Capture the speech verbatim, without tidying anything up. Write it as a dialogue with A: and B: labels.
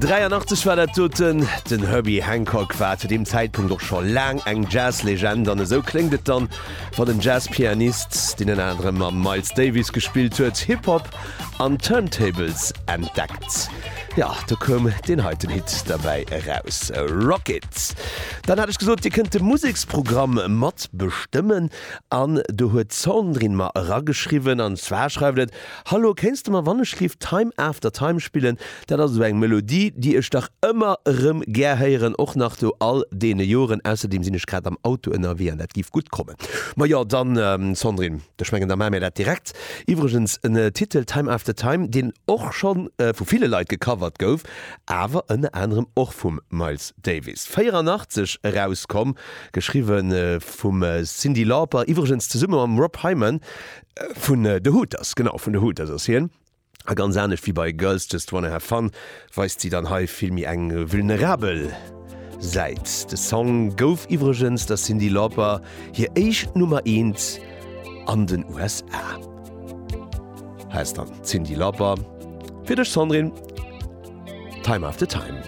A: Dräianachtzeg war dat doten. Den Herbie Hancock war zu deem Zäitpunkt och scho laang eng Jazz-Legend an esou kléngt et dann, wann en Jazz-Pianist, deen ënner anerem mam Miles Davis gespillt huet, Hip-Hop an Turntables entdeckt. Jo, do koum deen heiten Hit derbäi eraus, Rock It. Dann hat ech gesot, dir kënnt de Museksprogramm mat bestëmmen an do huet d'Sandrine mer erageschriwwen an zwar schreift et, Hallo, kéints de mer wannechlift Time After Time spillen? Dat ass esou eng Melodie, déi ech dach ëmmer erëm gär héieren, och nach no all deene Joren. Ausserdeem sinn ech grad am Auto ënnerwee an dat giff gutt kommen. Majo dann, Sandrine, ech mengen da maache mir dat direkt. Iwwregens en Titel, Time After Time, deen och scho vu ville Leit gecovert gouf, awer ënner anerem och vum Miles Davis. véierannachtzeg erauskomm, geschriwwe vum Cyndi Lauper, iwwregens zesumme mam Rob Hyman vun The Hooters, genau, vun The Hooters ass hien. A ganz anescht wéi bei Girls Just Wanna Have Fun weist si dann hei vill méi eng vulnerabel Säit. De Song gouf iwwregens der Cyndi Lauper hir éischt Nummer eent an den U S A. Hei ass dann d'Cyndi Lauper fir dech, Sandrine, Time After Time.